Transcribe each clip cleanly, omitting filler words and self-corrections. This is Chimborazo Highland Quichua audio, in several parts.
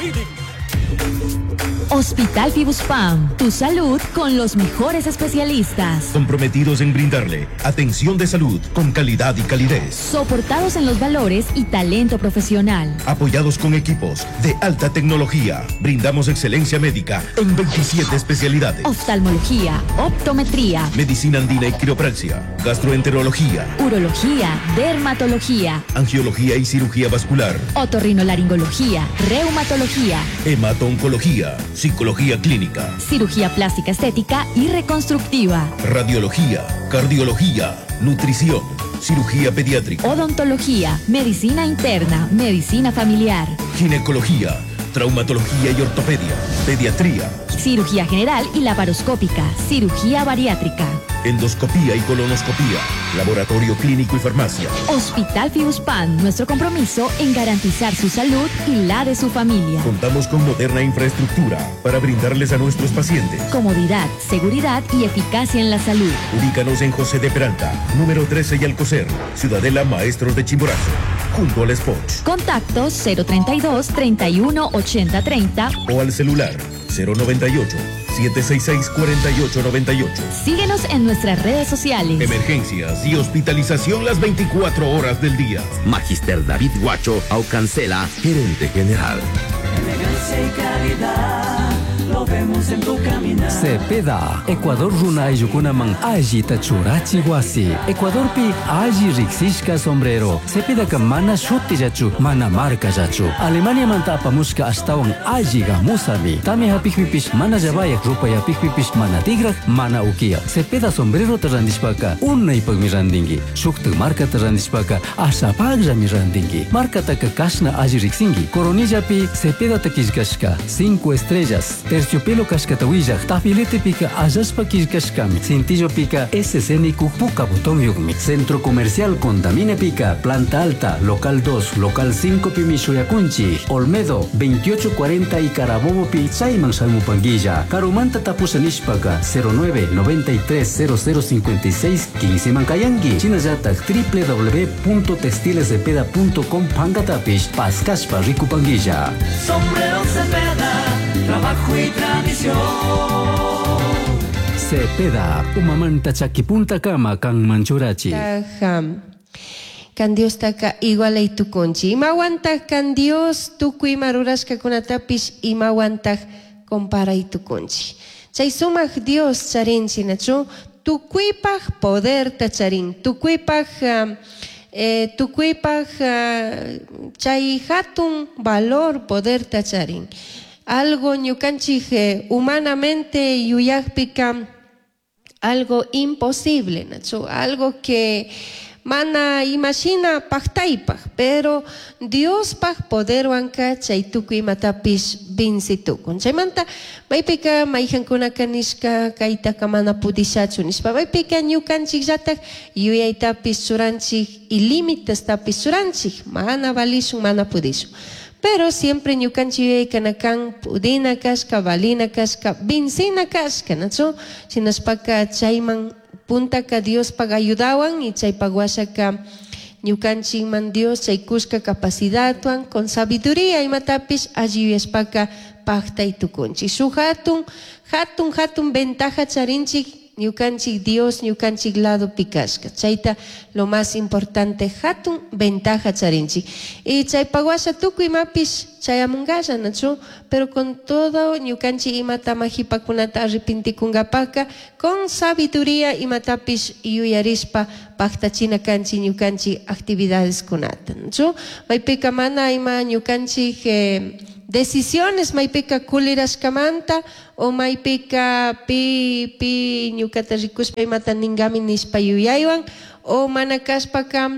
Feeding. Hospital Fibuspam, tu salud con los mejores especialistas. Comprometidos en brindarle atención de salud con calidad y calidez. Soportados en los valores y talento profesional. Apoyados con equipos de alta tecnología, brindamos excelencia médica en 27 especialidades. Oftalmología, optometría, Medicina andina y quiropraxia, gastroenterología, urología, dermatología, angiología y cirugía vascular, otorrinolaringología, reumatología, hemato-oncología, psicología clínica, cirugía plástica estética y reconstructiva, radiología, cardiología, nutrición, cirugía pediátrica, odontología, medicina interna, medicina familiar, ginecología, traumatología y ortopedia, pediatría, cirugía general y laparoscópica, cirugía bariátrica. endoscopía y colonoscopía, laboratorio clínico y farmacia. Hospital Fibuspam, nuestro compromiso en garantizar su salud y la de su familia. Contamos con moderna infraestructura para brindarles a nuestros pacientes. Comodidad, seguridad y eficacia en la salud. Ubícanos en José de Peralta, número 13 y Alcocer, Ciudadela Maestros de Chimborazo, junto al Spot. Contacto 032 31 80 30. O al celular 098 766 4898. Síguenos en nuestras redes sociales. Emergencias y hospitalización las 24 horas del día. Magister David Guacho Aucancela, gerente general. Elegancia y calidad, lo vemos en tu caminar. Cepeda, Ecuador runa ayllukunaman allita churachi wasi. Ecuadorpi alli riqsishka sombrero. Cepedaka mana shutillachu, mana markallachu. Alemaniamanta apamushka ashtawan alli gamusami. Tamya hapikpipish mana llavayak, rupay hapikpipish mana tigraj, mana ukiya. Cepeda sombrerota randishpaka unaypakmi randinki. Shuktak markata randishpaka ashapakllami randinki. Markataka kashna alli riqsinki. Coronillapi Cepedata killkashka, 5 estrellas. Terciopelo kashkata willaj, tafiletepika allashpa killkashkami. Cintillopika SC nikuj puka botonyuqmi. Centro Comercial Condaminepika, Planta Alta, Local 2, Local 5 pimi shuyakunchik. Olmedo, 2840 y Carabobo pi chayman shamupanguilla. Karumanta tapusha nishpaka 09 93 0056 15 mankayanki. Shinallatak www.textilescepeda.com pankatapish paskashpa rikupanguilla. Sombrero Cepeda, trabajo y tradición. Cepeda, umamanta chakipunta kama kanman churachi. Tajam. Kan Diostaka igualay tukunchik. Imawantaq kan Dios tukuy ima rurashkakunatapish imawantaq comparay tukunchik. Chay sumaq Dios charinchik nachu tukuypaq poderta charin, tukuypaq tukuypaq chay hatun valor poderta charin. Algo ñukanchik humanamente yuyaqpika algo imposible, nachu, algo que mana imashina paqtaypaq, pero Diospaq poderwanka chay tukuy imatapish vinci tukun. Chaymanta maypika mayqankunaka nishka kaytaka mana pudishachu nishpa, maypika ñukanchikllatak yuyaytapish churanchik y límitestapish churanchik, mana valishun, mana pudishun. Pero siempre ñukanchik yuyaykana kan pudina kashka, valina kashka, vincina kashka, nachu? Shinashpaka chayman puntaka Diospaq ayudawan y chaypaq washaka ñukanchikman Dios chay kushka capacidadwan con sabiduría imatapish alli yuyashpaka paqtay tukunchik. Shuk hatun, hatun, hatun ventaja charinchik ñukanchik Dios ñukanchik ladopi kashka. Chayta lo más importante hatun ventaja charinchik. Y chaypaq washa tukuy imapish chayamunkalla, nachu? Pero con todo ñukanchik imata majipakunata arrepentikunkapaka con sabiduría imatapish yuyarishpa paqtachina kanchik ñukanchik actividadeskunata, nachu? Maypika mana ima ñukanchik decisiones maypika kulirashkamanta o maypika pi, pi ñukata rikushpa imata ninkami nishpa yuyaywan o mana kashpaka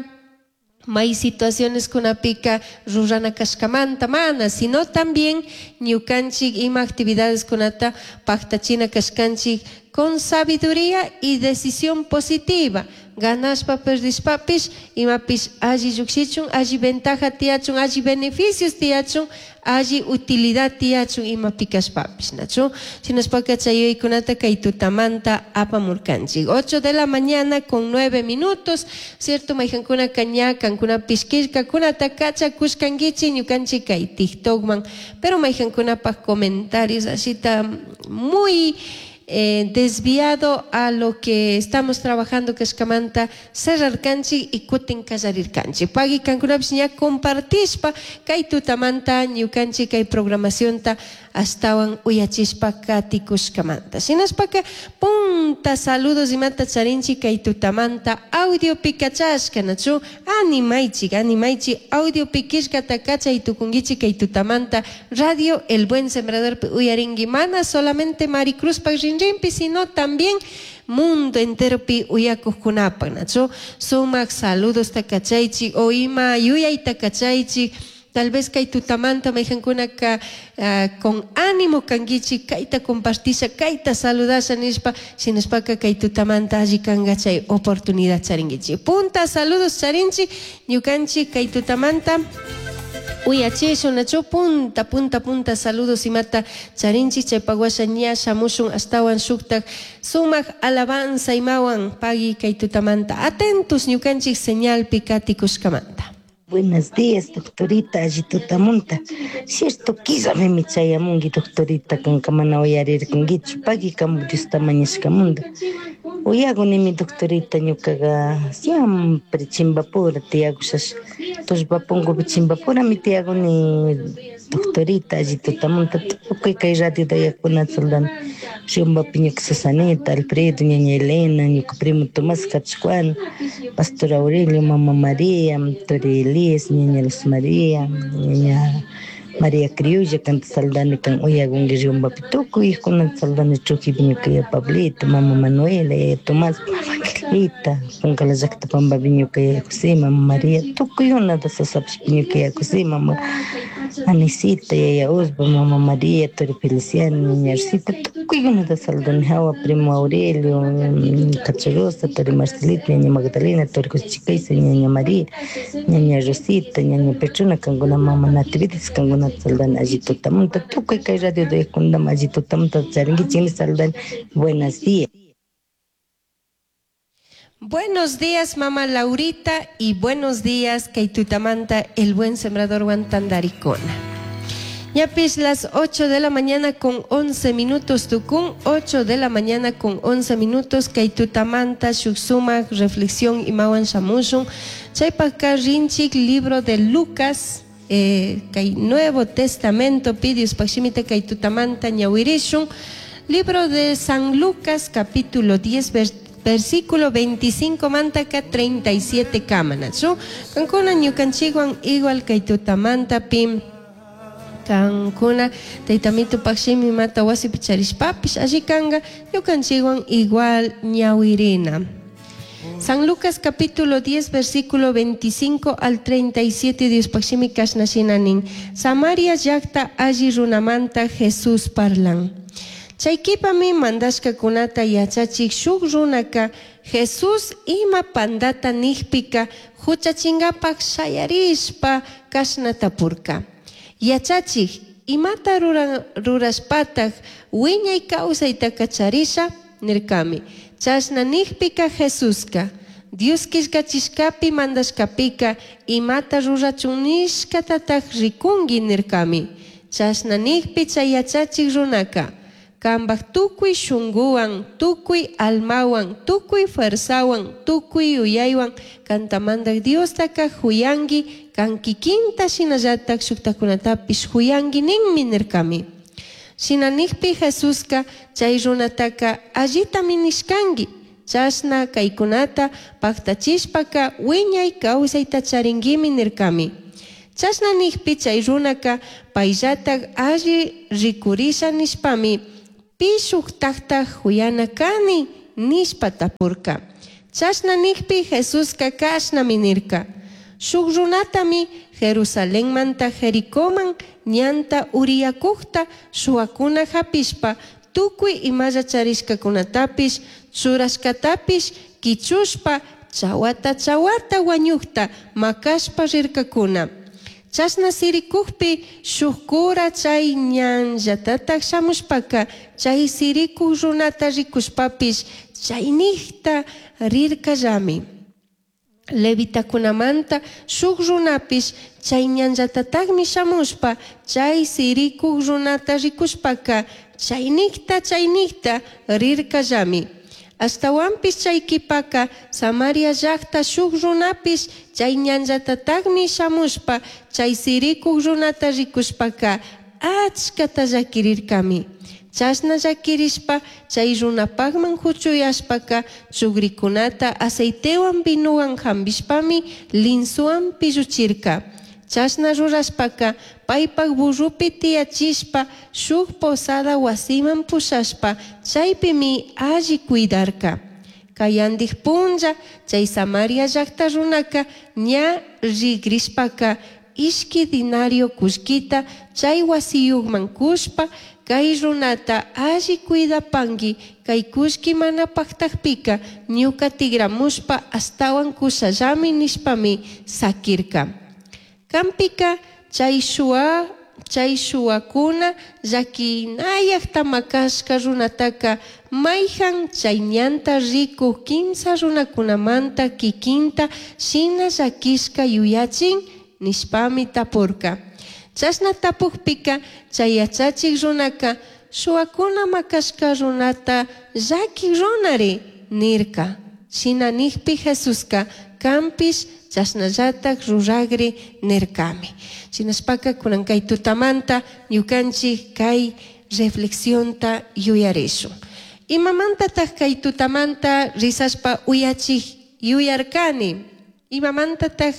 may situaciones kunapika rurana kashkamanta mana, sino también ñukanchik ima actividades kunata paqtachina kashkanchik con sabiduría y decisión positiva. Ganashpa perdishpapish imapish alli llukshichun, alli ventaja tiyachun, alli beneficios tiyachun, alli utilidad tiyachun imapi kashpapish, nachu? Shinashpaka chay yuyaykunata kay tutamanta apamurkanchik. 8 de la mañana con 9 minutos, cierto? Mayqankunaka ña kankunapish killkakunata kachakushkankichik ñukanchik kay TikTokman, pero mayqankunapaj comentarios ashita muy desviado a lo que estamos trabajando kashkamanta cerrarkanchik y kutin kallarirkanchik. Pagui kankunapish ña compartishpa kay tutamanta ñukanchik kay programacionta ashtawan uyachishpa katikushkamanta. Shinashpaka punta saludos imata charinchik kay tutamanta audiopi kachashka, nachu? Animaychik, animaychik, audiopi killkata kachay tukunkichik kay tutamanta Radio El Buen Sembradorpi uyarinki, mana solamente Maricruzpak rinrinpi, sino también mundo enteropi uyakuqkunapak, nachu? Sumak saludosta kachaychik o ima yuyayta kachaychik. Tal vez kay tutamanta mayqankunaka con ánimo kankichik kayta compartisha, kayta saludasha nishpa, shinashpaka kay tutamanta alli kanka chay oportunidad charinkichik. Punta saludos charinchik ñukanchik kay tutamanta uyachishun, nachu? Punta, punta, punta saludos imata charinchik chaypak washa ña shamushun ashtawan shuktak sumak alabanza imawan pagui kay tutamanta. Atentos ñukanchik señalpi katikushkamanta. Buenos días, doctorita, alli tutamunta. Cierto, quizá me chayamungi, doctorita, kanka mana uyarirkankichu, pagui kamu Diosta mañashkamunda. Uyagunimi, doctorita, ñukaga siempre chimbapura tiyakushash. Tullpapunkupi chimbapurami tiyaguni, doctorita, alli tutamunta. Tukuy kay radio dayakunata saldani. Riumbapi ñuka Susanita, Alfredo, ñaña Elena, ñuka primo Tomás Cachuan, Pastor Aurelio, Mama María, Tori Elías, ñaña Luz María, ñaña María Criolla, kanta saldani kan uyagunki Riumbapi tukuy kunata saldani Trujillo, ñuka yaya Pablito, Mama Manuela, yaya Tomás, Mama Angelita, Puncala llakta Pambapi ñuka yaya José, Mama María, tukuy kunata Sasapish ñuka yaya José, Mama Anisita, yaya Osba, Mama María, Tori Feliciano, ñaña Rosita, tukuy kunata saldani hawa, primo Aurelio, Cacharosa, Tori Marcelita, ñaña Magdalena, Tori José Chicaiza, ñaña María, ñaña Rosita, ñaña Petrona, kankuna Mama Natividad, kankuna saldani alli tutamunta, tukuy kay radio de kundam alli tutamunta charinkichik saldani. Buenos días. Buenos días, mamá Laurita, y buenos días, kay tutamanta, el buen sembrador Guantandaricona. Ñapis las 8 de la mañana con 11 minutos, tukun, 8 de la mañana con 11 minutos, kay tutamanta, shuk sumak, reflexión imawan shamushun, chaypaka rinchik, libro de Lucas, kay Nuevo Testamento, pidius pakshimita kay tutamanta ñawirishun, libro de San Lucas, capítulo 10, versículo 25 mantaka 37 kamana. Chu, kankuna ñukanchikwan igual kay tutamanta pim kankuna taytamito pakshimi mata wasipi charishpapish alli kanka ñukanchikwan igual ñawirina. San Lucas capítulo 10 versículo 25 al 37 Dios pakshimi kashna shina nin. Samaria llakta alli runamanta Jesús parlan. Chaykipami mandashkakunata yachachik shuk runaka Jesús ima pandata nijpika huchachingapak shayarishpa kashna tapurka. Yachachik, imata rurashpatak wiñay kawsaytaka charisha nirkami. Chashna nijpika Jesuska Dios killkachishkapi mandashkapika imata rurachun nishkatatak rikunki nirkami. Chashna nijpi chay yachachik runaka kambaj tukuy shunguwan, tukuy almawan, tukuy fuerzawan, tukuy yuyaywan kantamandak Diostaka huyanki, kan kikinta shinallatak shuktakunatapish huyanki ninmi nirkami. Shina nijpi Jesuska chay runataka allitami nishkanki, chashna kaykunata paktachishpaka wiñay kawsayta charinkimi nirkami. Chashna nijpi chay runaka payllatak alli rikurisha nishpami pi shuktakta huyana kani nishpa tapurka. Chashna nijpi Jesuska kashnami nirka. Shuk runatami Jerusalenmanta Jericoman ñanta uriyakukta shuwakuna hapishpa tukuy imalla charishkakunatapish churashkatapish kichushpa. Chawata chawata wañukta makashpa rirkakuna. Chashna sirikukpi shuk cura chay ñanllatataj shamushpaka chay sirikuk runata rikushpapish chaynikta rirkallami. Levitakunamanta shuk runapish chay ñanllatatajmi shamushpa chay sirikuk runata rikushpaka chaynikta chaynikta rirkallami. Ashtawanpish chay kipaka Samaria llaqta shuk runapish chay ñanllatatajmi shamushpa chay sirikuk runata rikushpaka achkata llakirirkami. Chashna llakirishpa chay runapakman huchuyashpaka chugrikunata aceitewan vinuwan hambishpami linsuwan pilluchirka. Chashna rurashpaka paypak burrupi tiyachishpa shuk posada wasiman pushashpa chaypimi alli cuidarka. Kayandik punlla chay Samaria llaqta runaka ña rigrishpaka ishki dinario kullkita chay wasiyukman kushpa kay runata alli cuidapanki kay kullki mana paktakpika ñuka tigramushpa ashtawan kushallami nishpami sakirka. Kampika chay shuwa chay shuwakuna llakinayakta makashka runataka mayhan chay ñanta rikuk kimsa runakunamanta kikinta shina llakishka yuyachin nishpami tapurka. Chashna tapukpika chay yachachik runaka shuwakuna makashka runata llakik runari nirka. Shina nikpi Jesuska kanpish chashnallatak ruragri nirkami. Shinashpaka kunan kay tutamanta ñukanchik kay reflexionta yuyarishun. Imamantataq kay tutamanta risashpa uyachik yuyarkani? Imamantataq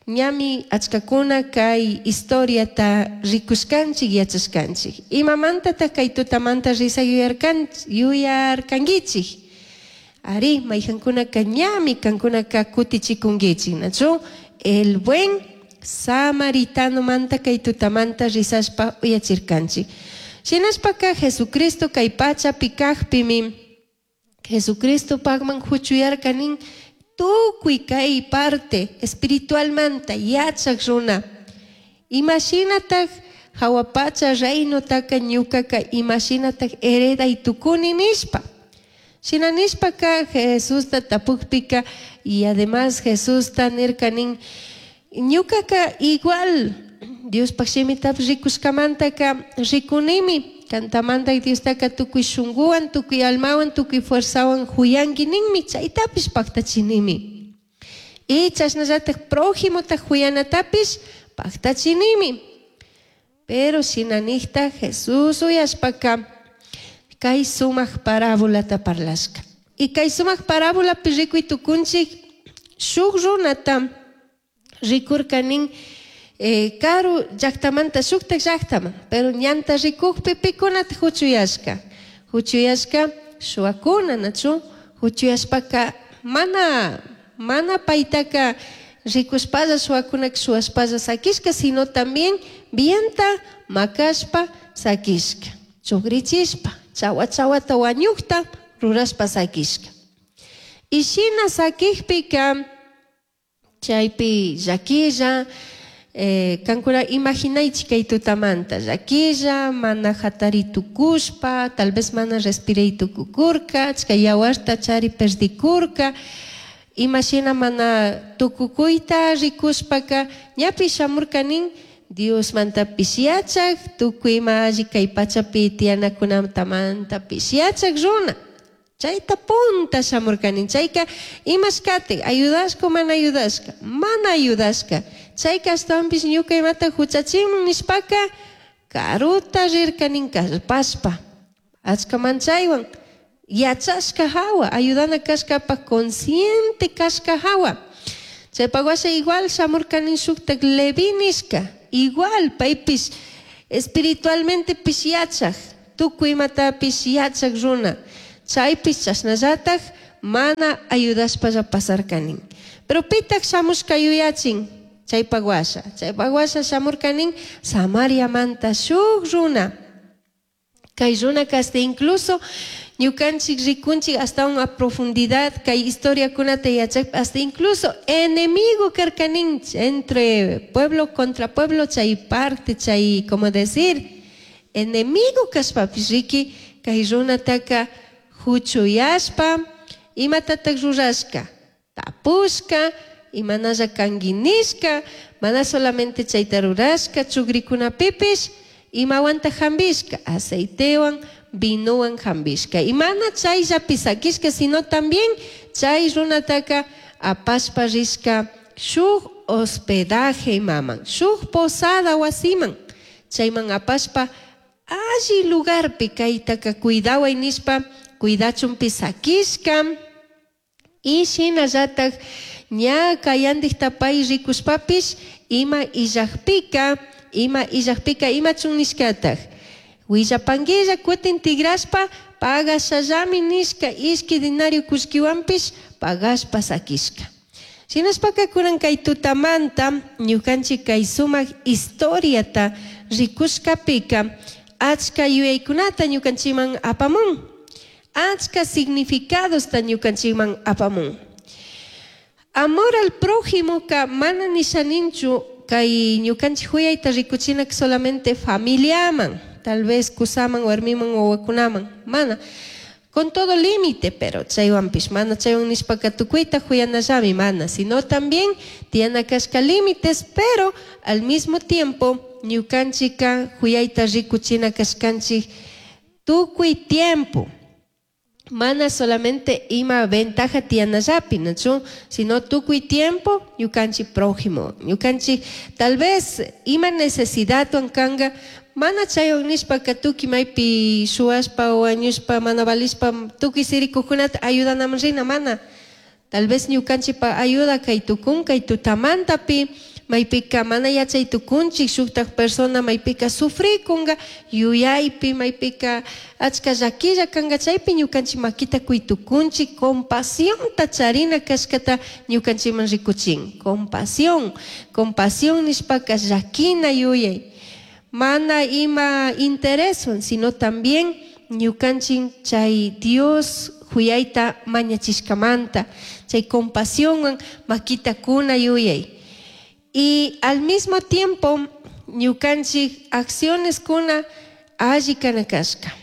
ñami achkakuna kay historiata rikushkanchik yachashkanchik? Imamantataq kay tutamanta risa yuyarkankichik? Ari, mayhankunaka ñami kankunaka kutichikunkichik, nachu? El buen samaritano manta kay tutamanta risashpa uyachirkanchik. Shinashpaka Jesucristo kay pachapi kajpimi Jesucristo pakman huchuyarka nin tukuy kay parte espiritualmanta yachak runa. Imashinataj hawa pacha reinotaka ñukaka imashinataj hereday tukuni nishpa. Shina nishpaka Jesusta tapukpika y además Jesusta nirka nin ñukaka igual Diospaj shimitapish rikushkamantaka rikunimi kantamanta Diostaka tukuy shunkuwan tukuy almawan tukuy fuerzawan huyanki ninmi chaytapish paktachinimi. Y chashnallatak prójimota huyanatapish paktachinimi. Pero shina nikta Jesús uyashpaka kay sumak parábolata parlashka. Y kay sumak parábolapi rikuy tukunchik shuk runata rikurka nin karu llaktamanta shuktak llaktaman, pero ñanta rikukpi pikunata huchuyashka. Huchuyashka shuwakuna, nachu? Huchuyashpaka mana mana paytaka rikushpalla shuwakunaka shuwashpalla sakishka, sino también vienta makashpa sakishka. Chugrichishpa, chawa chawata wañukta rurashpa sakishka. Y shina sakikpika chaypi llakilla kankuna imaginaychik kay tutamanta llakilla mana hatari tukushpa tal vez mana respiray tukukurka achka yawarta chari perdikurka imashina mana tukukuyta rikushpaka ñapish shamurka nin Diosmantapish yachak tukuy ima alli kay pachapi tiyanakunamantapish yachak runa. Chayta punta shamurka nin chayka imashkatik ayudashka o mana ayudashka mana ayudashka chayka ashtawanpish ñuka imata huchachinman nishpaka karuta rirka nin kallpashpa achka manchaywan yachashka hawa ayudana kashkapak consciente kashka hawa. Chaypak washa igual shamurka nin shuktak Leví nishka igual paypish espiritualmente pish yachak tukuy imatapish yachak runa. Chaypish chashnallatak mana ayudashpalla pasarka nin. Pero pitak shamushka yuyachin chaypak washa. Chaypak washa shamurka nin Samariamanta shuk runa. Kay runaka hasta incluso ñukanchik rikunchik hasta una profundidad kay historiakunata yachakpa hasta incluso enemigo karkaninchik entre pueblo contra pueblo chay parte chay como decir enemigo kashpapish riki kay runataka huchuyashpa imatatak rurashka tapushka imanalla kanki nishka mana solamente chayta rurashka chukrikunapipish imawanta hambishka aceitewan vinowan hambishka y mana chayllapi sakishka sino también chay runataka apashpa rishka shuk hospedaje imaman shuk posada wasiman chayman apashpa alli lugarpi kaytaka cuidaway nishpa cuidachunpi sakishka y shinallatak ña kayandikta pay rikushpapish ima illakpika ima illakpika imachun nishkatak willapanguilla kutin tigrashpa pagashallami nishka ishki dinario kullkiwanpish pagashpa sakishka. Shinashpaka kunan kay tutamanta ñukanchik kay sumak historiata rikushkapika achka yuyaykunata ñukanchikman apamun achka significadosta ñukanchikman apamun. Amor al prójimo ka mana nishaninchu kay ñukanchik huyayta rikuchinak solamente familiaman, tal vez kusaman, warmiman, wawakunaman, mana. Con todo límite, pero chaywanpish mana chaywan nishpaka tukuyta huyanallami mana, sino también tiyana kashka límites, pero al mismo tiempo ñukanchika huyayta rikuchina kashkanchik tukuy tiempo. Mana solamente ima ventaja tiyanallapi, ¿nachu? Sino tukuy tiempo ñukanchik prójimo, ñukanchik tal vez ima necesidad kanga mana chaywan nishpaka tukuy maypi shuwashpa wañushpa mana valishpa tukuy sirikukunata ayudanaman rina mana. Tal vez ñukanchikpa ayuda kay tukun kay tutamantapi maypika mana yachay tukunchik shuktak persona maypika sufrikunga yuyaypi maypika achka llakilla kanga chaypi ñukanchik makita kuy tukunchik compasionta charina kashkata ñukanchikman rikuchin. Compasión, compasión nishpaka llakina yuyay mana ima intereswan sino también ñukanchik chay Dios huyayta mañachishkamanta chay compasionwan makita kuna yuyay. Y al mismo tiempo ñukanchik acciones kuna alli kana kashka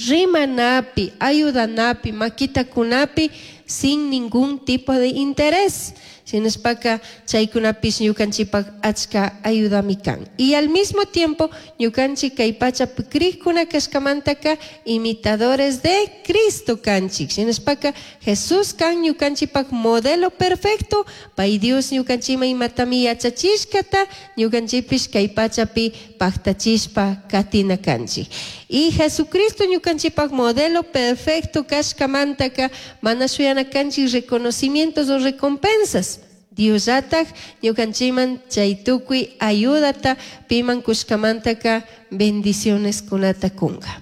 rimanapi ayudanapi makita kunapi sin ningún tipo de interés. Shinashpaka chaykunapish ñukanchikpak achka ayudami kan. Y al mismo tiempo ñukanchik kay pachapi krikuna kashkamantaka imitadores de Cristo kanchik. Shinashpaka Jesús kan ñukanchikpak modelo perfecto, pay Dios ñukanchikman imatami yachachishkata ñukanchikpish kay pachapi paktachishpa katina kanchik. Y Jesucristo ñukanchikpak modelo perfecto kashkamantaka mana shuyana kanchik reconocimientos o recompensas. Diosllatak ñukanchikman chay tukuy ayudata piman kushkamantaka bendiciones kunata kunga.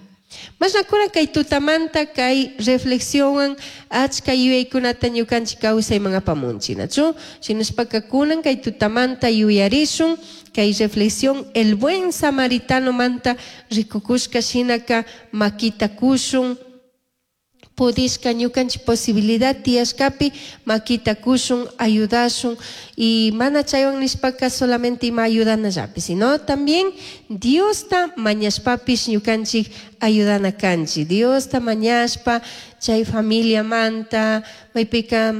Mashnakuna kay tutamanta kay reflexionwan achka yuyaykunata ñukanchik kawsayman apamunchik, ¿nachu? Shinashpaka kunan kay tutamanta yuyarishun kay reflexión el buen samaritano manta rikukushka shinaka makita kushun pudishka ñukanchik posibilidad tiyashkapi makita kushun ayudashun y mana chaywan nishpaka solamente ima ayudanallapi sino también Diosta mañashpapish ñukanchik ayudana kanchik. Diosta mañashpa chay familia manta maypika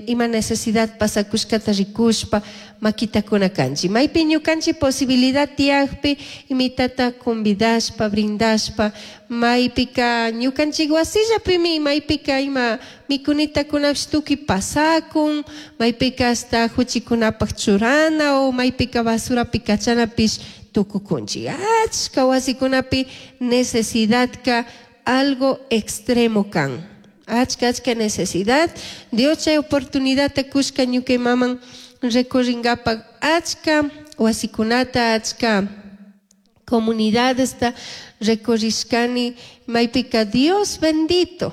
ima necesidad pasakushkata rikushpa makita kuna kanchik. Maypi ñukanchik posibilidad tiyakpi imitata convidashpa brindashpa maypika ñukanchik wasillapimi maypika ima mikunitakunapish tukuy pasakun maypika hasta huchikunapak churana o maypika basurapi kachanapish tukukunchik. Achka wasikunapi necesidadka algo extremo kan. Achka achka necesidad. Dios chay oportunidadta kushka ñukay maman recorringapak achka wasikunata achka comunidadesta recorrishkani maypika Dios bendito.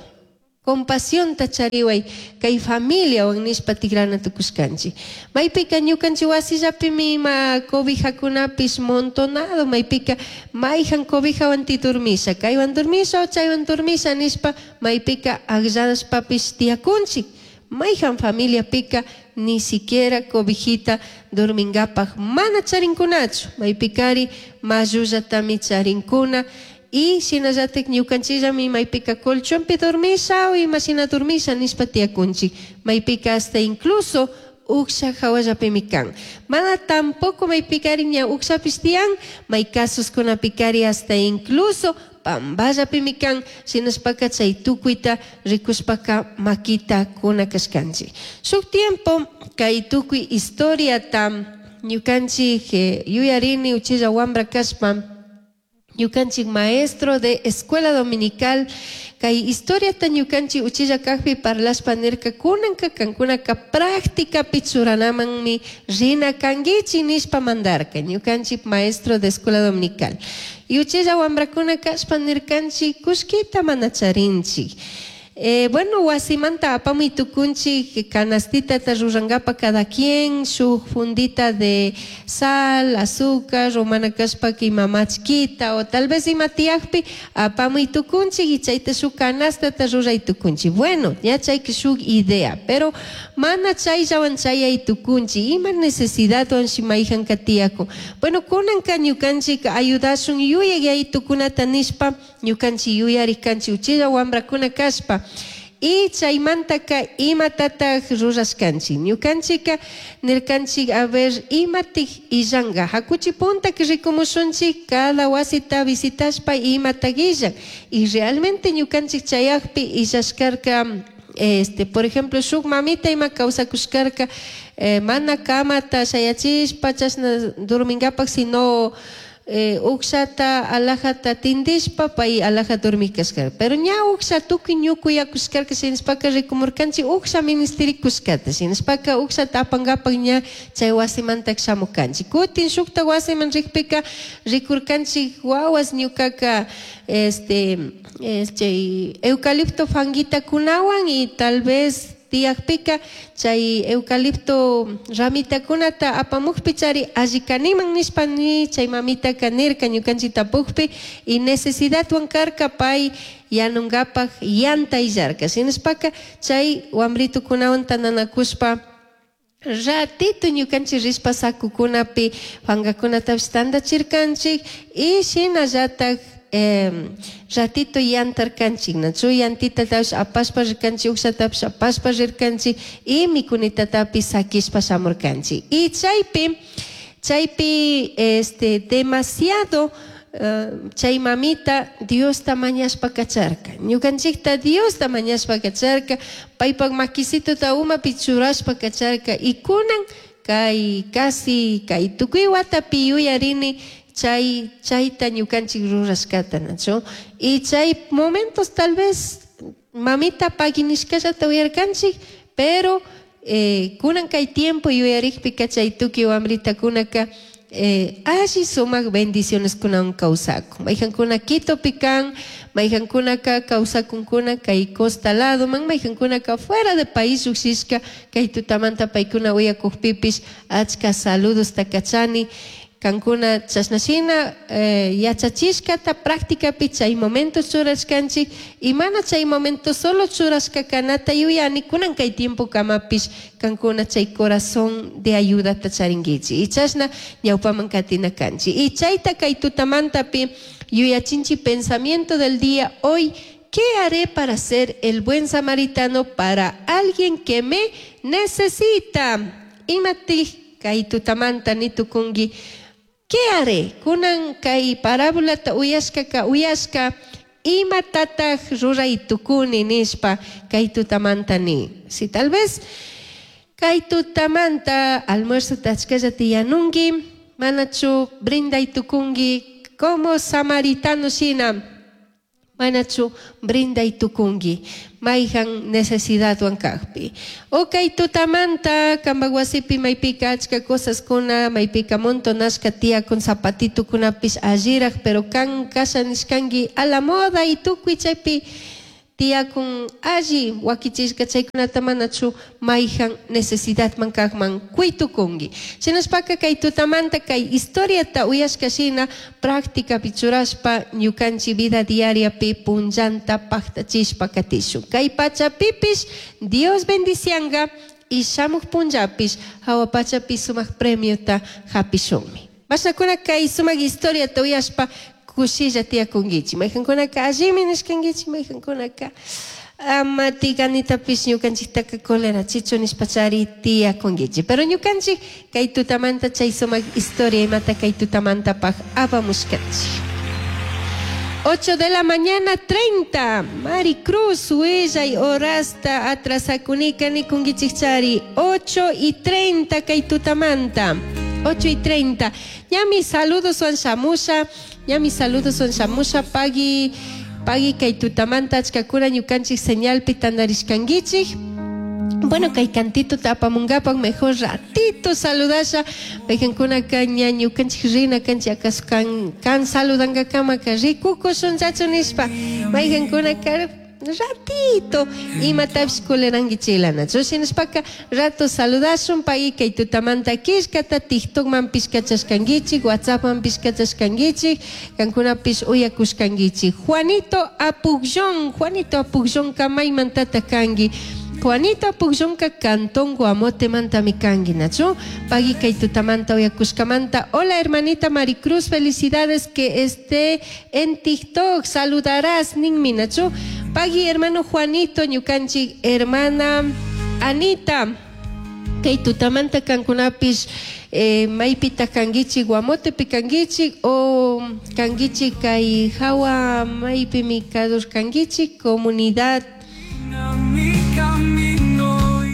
Compasionta chariway kay familiawan nishpa tigrana tukushkanchik. Maypika ñukanchik wasillapimi ima cobijakunapish montonado, maypika mayjan cobijawan ti dormisha, kaywan dormisha o chaywan dormisha nishpa maypika akllashpapish tiyakunchik. Mayjan familiapika ni siquiera cobijita dormingapaj mana charinkunachu, maypikari mallullatami charinkuna. Y shinallatik ñukanchillami maypika colchonpi dormisha o imashina dormisha nishpa tiyakunchik. Maypika hasta incluso uksha hawallapimi kan. Mana tampoco maypikari ña ukshapish tiyan, may casos-kunapikari hasta incluso pamballapimi kan. Shinashpaka chay tukuyta rikushpaka makita kuna kashkanchik. Shuk tiempo kay tukuy historiata ñukanchik yuyarini uchilla wambra kashpa, ñukanchik maestro de escuela dominical kay historiata ñukanchik uchilla kajpi parlashpa nirka kunanka kankunaka prácticapi churanamanmi rina kankichik nishpa mandarka ñukanchik maestro de escuela dominical. Y uchilla wambrakuna kashpa nirkanchik kullkita mana charinchik. Bueno, wasimanta apamuy tukunchik canastitata rurankapa cada quien, shuk fundita de sal, azúcar, romana kashpa ima machkita o tal vez ima tiyakpi apamuy tukunchik y chayta shuk canastata ruray tukunchik. Bueno, ya chayka shuk idea, pero mana chayllawan chayay tukunchik, ima necesidadwan shi mayjanka tiyakun. Bueno, kunanka ñukanchik ayudashun yuyay yaytukunata nishpa ñukanchik yuyarikanchik uchilla wambrakuna kashpa. Y chaymantaka imatataj rurashkanchik. Ñukanchika nirkanchik, a ver, imatik illanka. Hakuchi punta que rikumushunchik cada wasita visitashpa imatak illan. Y realmente ñukanchik chayakpi illashkarka, por ejemplo, shuk mamita ima kawsakushkarka, mana kamata shayachishpa chashna durmingapak, sino ukshata alajata tindishpa pay alaja dormikashkarka. Pero ña uksha tukuy ñukuyakushkarka, shinashpaka rikumurkanchik uksha ministerikushkata, shinashpaka ukshata apankapak ña chay wasimantak shamukanchik. Kutin shukta wasiman rikpika rikurkanchik wawas ñukaka, chay eucalipto fanguitakunawan y tal vez tiyakpika chay eucalipto ramitakunata apamukpi chari alli kaniman nishpa ni chay mamitaka nirka ñukanchik tapukpi y necesidadwan karka pay yanunkapak yanta illarka. Shinashpaka chay wambritukunawan tantanakushpa ratito ñukanchik rishpa sakukunapi fangakunatapish tantachirkanchik y shinallatak ratito yantarkanchik, nachu yantitatapish apashpa rirkanchik, ukshatapish apashpa rirkanchik y mikunitatapish sakishpa shamurkanchik. Y chaypi, demasiado chay mamita Diosta mañashpa kacharka. Ñukanchikta Diosta mañashpa kacharka, paypak makisituta umapi churashpa kacharka. Y kunan kay casi kay tukuy watapi yuyarini chay chayta ñukanchik rurashkata, nachu. Y chay momentos tal vez mamita paginishkallata uyarkanchik, pero kunan kay tiempo yuyarikpika chay tukuy wambritakunaka alli sumak bendiciones kunan kawsakun. Mayjankuna Quitopi kan, mayjankunaka kawsakunkuna kay costa lado man, mayjankunaka fuera de país llukshishka kay tutamanta paykuna uyakukpipish achka saludos kachani. Kankuna chashnashina yachachishkata prácticapi chay momento churashkanchik y mana chay momento solo churashka kanata yuyani kunan kay tiempo kamapish kankuna chay corazón de ayudata charinkichik y chashna ñawpaman katina kanchik. Y chayta kay tutamantapi yuyachinchi pensamiento del día hoy. ¿Qué haré para ser el buen samaritano para alguien que me necesita? Imatij kay tutamanta nitukunki. ¿Qué haré? Kunan kay parábolata uyashkaka uyashka imatataj ruray tukuni nishpa kay tutamanta ni. Si tal vez kay tutamanta almuerzo tachkallata yanunki, manachu brinday tukunki como samaritano shina, manachu brinday tukunki mayjan necesidadwan kajpi. O kay tutamanta kampak wasipi maypika achka cosaskuna, maypika montonashka tiyakun zapatitukunapish alliraj, pero kan kasha nishkanki a la moda y tukuy chaypi Tiyakun alli wakichishka chaykunata manachu mayhan necesidadman kaqman kuytukunki. Shinashpaka kay tutamanta kay historiata uyashka shina prácticapi churashpa ñukanchik vida diariapi punllanta paqtachishpa katishun. Kay pachapipish Dios bendicianga y shamuq punllapish hawa pachapi sumaq premiota hapishunmi. Mashnakuna kay sumaq historiata uyashpa kushilla tiyakunkichik. Mayqankunaka allimi nishkankichik, mayqankunaka ama tiganitapish ñukanchiktaka colerachichu nishpachari tiyakunkichik. Pero ñukanchik kay tutamanta chay sumaq historia imata kay tutamantapaq apamushkanchik. 8 de la mañana 30. Maricruz, huillay horasta atrasakunika nikunkichikchari. 8:30 kay tutamanta. 8:30. Ñami saludos wan shamusha. Ñami saludos wan shamusha. Pagui, pagui kay tutamanta achkakuna ñukanchik señalpi tandarishkankichik. Bueno, kay cantito tapamungapak mejor ratito saludasha. Mayqankunaka ña ñukanchik rina kanchik acaso kan, kan saludankakamaka rikukushunchachu nishpa. Mayqankunaka ratito imatapish kulerankichilanachu. Shinashpaka rato saludashun pagui kay tutamanta killkata TikTokmanpish kachashkankichik, WhatsAppmanpish kachashkankichik, kankunapish uyakushkankichik. Juanito Apugllón, Juanito Apugllónka maymantata kanki. Juanito Apugllónka Cantón Guamote mantami kanki, nachu. Pagui kay tutamanta uyakushkamanta. Hola hermanita Maricruz, felicidades que esté en TikTok. Saludarás, ninmi, nachu. Pagui hermano Juanito, ñukanchik hermana Anita. Kay tutamanta kankunapish maypita kankichik, Guamotepi kankichik o kankichik kay hawa maypimi kadur kankichik, comunidad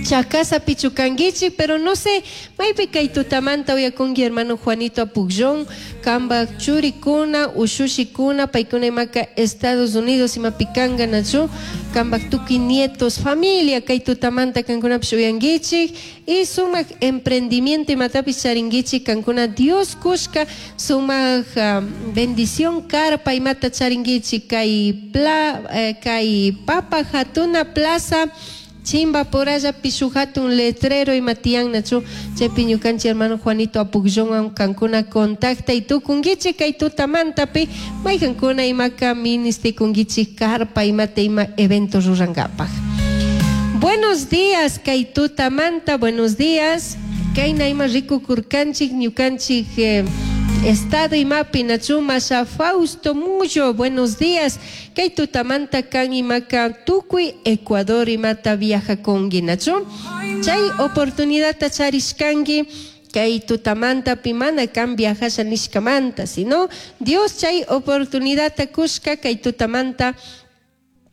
Chacasa pichukankichik, pero no sé, maypi kay tutamanta uyakunki hermano Juanito Apugllón, kambak churikuna, ushushikuna, paykuna imaka Estados Unidos imapikanga nachu, kambak tukuy nietos, familia kay tutamanta kankunapish uyankichik, y sumak emprendimiento imatapish charinkichik, kankuna Dios kushka sumak bendición karpa imata charinkichik, kay pla, kay Papa Hatuna Plaza, Chimba por allá pishujato un letrero y matian nachu chaypi ñukanchik hermano Juanito Apugllón kankuna contacta y tukunkichik kay tutamantapi mayqankuna imaka ministikunkichik karpa imata ima evento rurankapak. Buenos días kay tutamanta, buenos días. Kayna ima rikukurkanchik ñukanchik estado imapi nachu masha Fausto Mullo, buenos días. Kay tutamanta kan imaka tukuy Ecuador imata viajakunki nachu. Chay oportunidadta charishkanki kay tutamanta pimana kan viajasha nishkamanta, sino Dios chay oportunidadta kushka kay tutamanta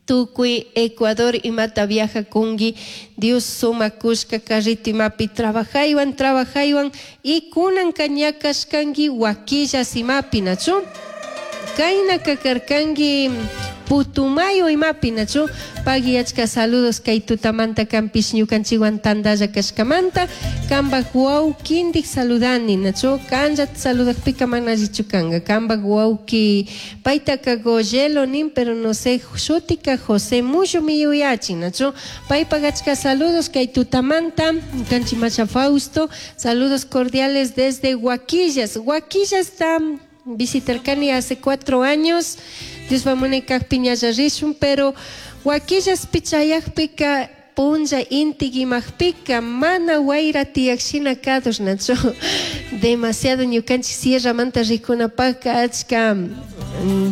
tukuy Ecuador imata viajakunki, Dios suma kushka carrito imapi trabajaywan, trabajaywan y kunan kañakashkanki Huaquillas imapi nachu. Kayna kakarkanki Putumayo imapi nachu. Pagui achka saludos kay tutamanta kampish ñukanchikwan tandalla kashkamanta. Kambak wawkindik saludani nachu. Kanllat saludakpika mana allichu kanka. Kambak wawki paytaka Goyelo nin, pero no sé, shutika José Mullo mi yuyachin nachu. Paypak achka saludos kay tutamanta. Kanchi Macha Fausto, saludos cordiales desde Huaquillas. Huaquillas está visitarkani hace 4 años. Dios va munay kajpi ñalla rishun, pero Huaquillas pichayajpika punlla intigimajpika mana wayra tiyakshina kadush nachu. Demasiado ñukanchik sierramanta rikunapajka achka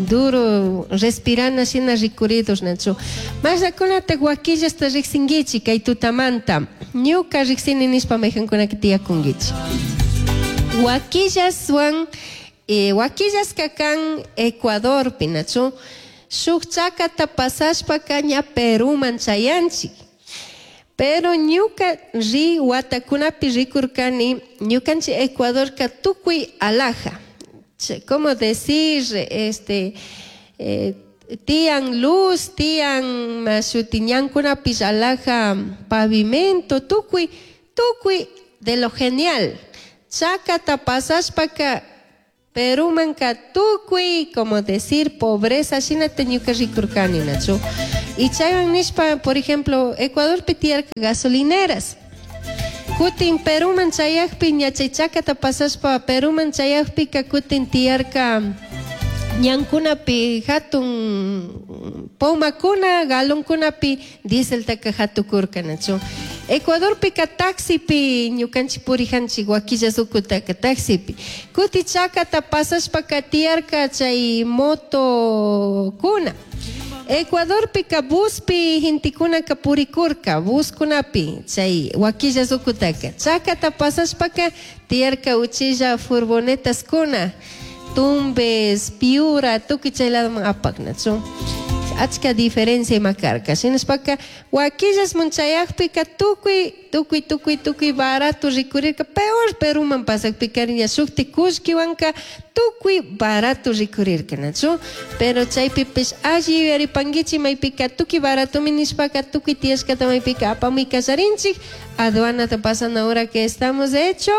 duro respirana shina rikuridos nachu. Masnakunata Huaquillasta riksinkichik kay tutamanta. Ñuka riksini nishpa mayqankunaka tiyakunkichik. Huaquillaswan Huaquillasqa kan Ecuadorpi nachu. Shuk chakata pasashpaka ña Peruman chayanchik. Pero ñuka ri watakunapi rikurkani ñukanchik Ecuadorka tukuy alhaja. ¿Cómo decir? Este, tiyan luz, tiyan mashuti ñankunapish alhaja pavimento, tukuy, tukuy de lo genial. Chakata pasashpaka Perumanka tukuy, como decir, pobreza, shinata ñuka rikurkani nachu. Y chaywan nishpa, por ejemplo, Ecuadorpi tiyarka gasolineras. Kutin Peruman chayakpi ña chay chakata pasashpa Peruman chayakpika kutin tiyarka ñankunapi hatun pomakuna galonkunapi dieseltaka hatukurka, nachu? Ecuadorpika taxipi ñukanchik purijanchik Huaquillas ukutaka taxipi. Kuti chakata pasashpaka tiyarka chay motokuna. Ecuadorpika buspi gentekunaka purikurka, buskunapi chay Huaquillas ukutaka. Chakata pasashpaka tiyarka uchilla furgonetaskuna, Tumbes, Piura, tukuy chay ladoman apak, nachu? Achka diferencia ima karka. Shinashpaka Huaquillasman chayakpika tukuy, tukuy, tukuy, tukuy barato rikurirka, peor Peruman pasakpika ña shukti kullkiwanka tukuy barato rikurirka, nachu? Pero chaypipish alli yuyaripankichik maypika tukuy baratomi nishpaka tukuy tiyashkata maypika apamuy kallarinchik, aduanata pasana hora que estamos hecho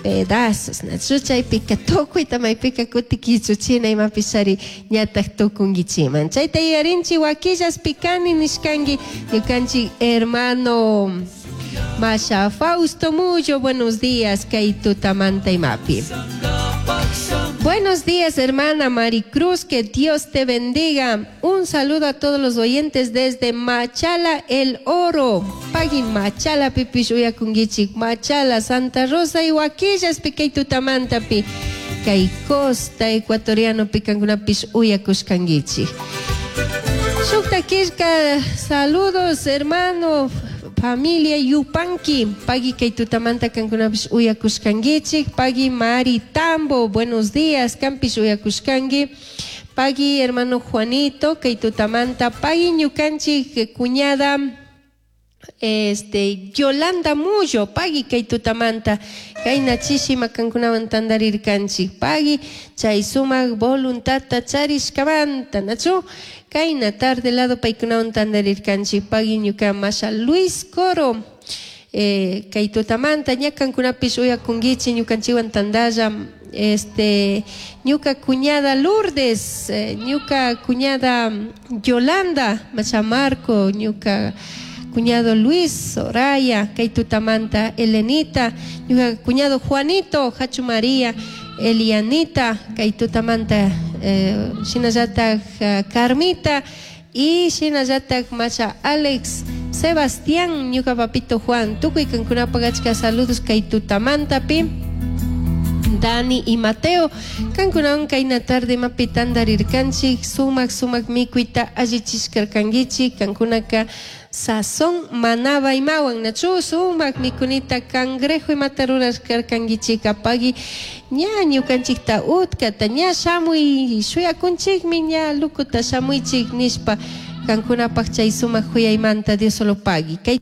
pedazos, nachu? Chaypika tukuyta maypika kutikichuchina imapishari ñatak tukunkichiman. Chayta yuyarinchik Huaquillas pikani nishkanki ñukanchik hermano Masha Fausto Mullo, buenos días, kay tutamanta imapi. Buenos días, hermana Maricruz, que Dios te bendiga. Un saludo a todos los oyentes desde Machala, El Oro. Pagui Machala, pipish uyakunkichik. Machala, Santa Rosa y Huaquillas, pikay tutamantapi. Kay costa ecuatoriano pikankunapish uyakushkankichik. Shukta killka, saludos, hermano, familia Yupanqui, pagui kay tutamanta kankunapish uyakushkankichik. Pagui Mari Tambo, buenos días, kampish uyakushkanki. Pagui hermano Juanito, kay tutamanta, pagui ñukanchik cuñada, Yolanda Mullo, pagui kay tutamanta, kayna chishi makankunawan tandarirkanchik, pagui chay sumak voluntadta charishkamanta, nachu? Kayna tarde lado paykunawan tandarirkanchik, pagui ñuka masha Luis Coro, kay tutamanta, ña kankunapish uyakunkichik ñukanchikwan tandalla, ñuka cuñada Lourdes, ñuka cuñada Yolanda, masha Marco, ñuka cuñado Luis, Soraya, kay tutamanta, Elenita, ñuka cuñado Juanito, Hachu María, Elianita, kay tutamanta, shinallatak Carmita, y shinallatak masha Alex, Sebastián, ñuka papito Juan, tukuy kankunapak achka saludos kay tutamantapi. Dani y Mateo, kankunawan kayna tarde mapi tandarirkanchik, sumak sumak mikuyta allichishkarkankichik, kankunaka sazón manaba imawan, nachu sumak mikunita cangrejo imata rurashkarkankichik, apagui ña ñukanchikta utkata, ña shamuy shuyakunchikmi, ña lukuta shamuychik nishpa kankunapak chay sumak huyaymanta Dios solo pagui. Kay